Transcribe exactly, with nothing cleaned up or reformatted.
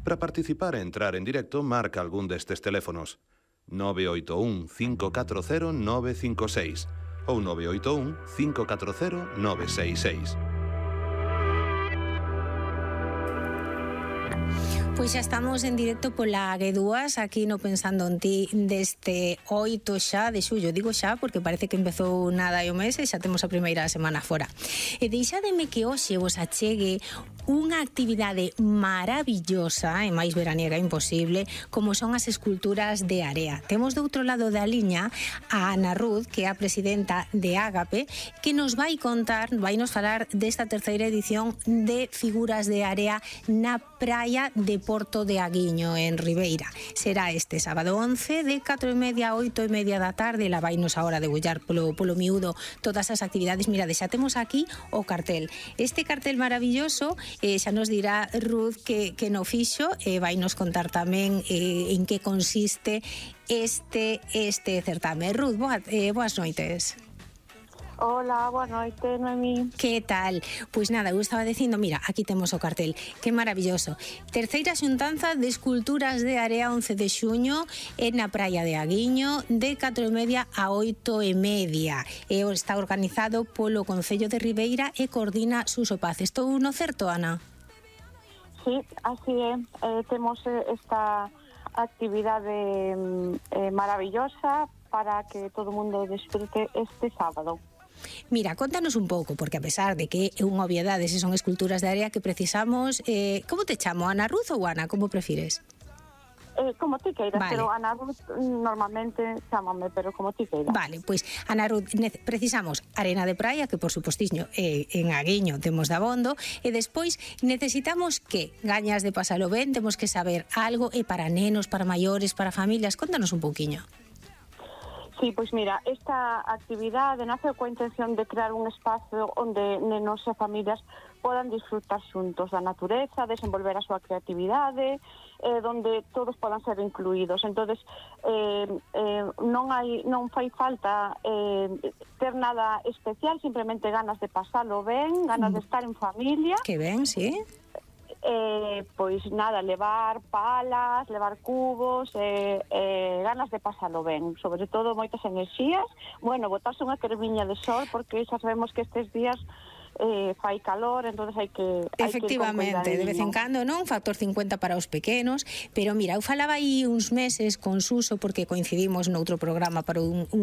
Para participar e entrar en directo, marca algún destes teléfonos: nove oito un, cinco catro cero, nove cinco seis ou nove oito un, cinco catro cero, nove seis seis. Pois xa estamos en directo pola G dúas, aquí no Pensando en Ti, deste oito xa de xullo. Digo xa porque parece que empezou nada e o mes e xa temos a primeira semana fora. E deixademe que hoxe vos achegue unha actividade maravillosa e máis veraniega imposible, como son as esculturas de area. Temos do outro lado da liña a Ana Ruz, que é a presidenta de Ágape, que nos vai contar, vai nos falar desta terceira edición de figuras de area na praia de Porto de Aguiño, en Ribeira. Será este sábado once, de catro e media a oito e media da tarde. La vai nos ahora degullar polo, polo miúdo todas as actividades. Mira, xa temos aquí o cartel. Este cartel maravilloso, eh, xa nos dirá Ruth que, que no fixo, e eh, vai nos contar tamén eh, en que consiste este, este certame. Ruth, boa, eh, boas noites. Hola, boa noite, Noemí. Que tal? Pois nada, eu estaba dicindo, mira, aquí temos o cartel, que maravilloso. Terceira xuntanza de esculturas de area once de xuño en na praia de Aguiño, de catro e media a oito e media. E está organizado polo Concello de Ribeira e coordina Suso Paz. Estou no certo, Ana? Sí, así é. Eh, temos esta actividade eh, maravillosa para que todo o mundo desfrute este sábado. Mira, contanos un pouco, porque a pesar de que é unha obviedade se son esculturas de area que precisamos, eh, como te chamo, Ana Ruz ou Ana, como prefires? Eh, como ti queiras, vale. Pero Ana Ruz normalmente chámame, pero como ti queiras. Vale, pois Ana Ruz, precisamos arena de praia, que por supostiño eh, en Aguiño temos dabondo, e despois necesitamos que gañas de pasalo ben, temos que saber algo, e para nenos, para maiores, para familias, contanos un pouquiño. Sí, pois mira, esta actividade nace coa intención de crear un espazo onde nenos e familias podan disfrutar xuntos da natureza, desenvolver a súa creatividade, eh, donde todos podan ser incluídos. Entonces, eh, eh, non hai non fai falta eh, ter nada especial, simplemente ganas de pasalo ben, ganas mm. de estar en familia. Que ben, sí. Eh, pois nada, levar palas, levar cubos, eh, eh, ganas de pasalo ben, sobre todo moitas enerxías. Bueno, botarse unha cremiña de sol, porque xa sabemos que estes días eh, fai calor, entonces hai que hai efectivamente, que de vez en cando, non? Factor cincuenta para os pequenos, pero mira, eu falaba aí uns meses con Suso, porque coincidimos noutro programa para un, un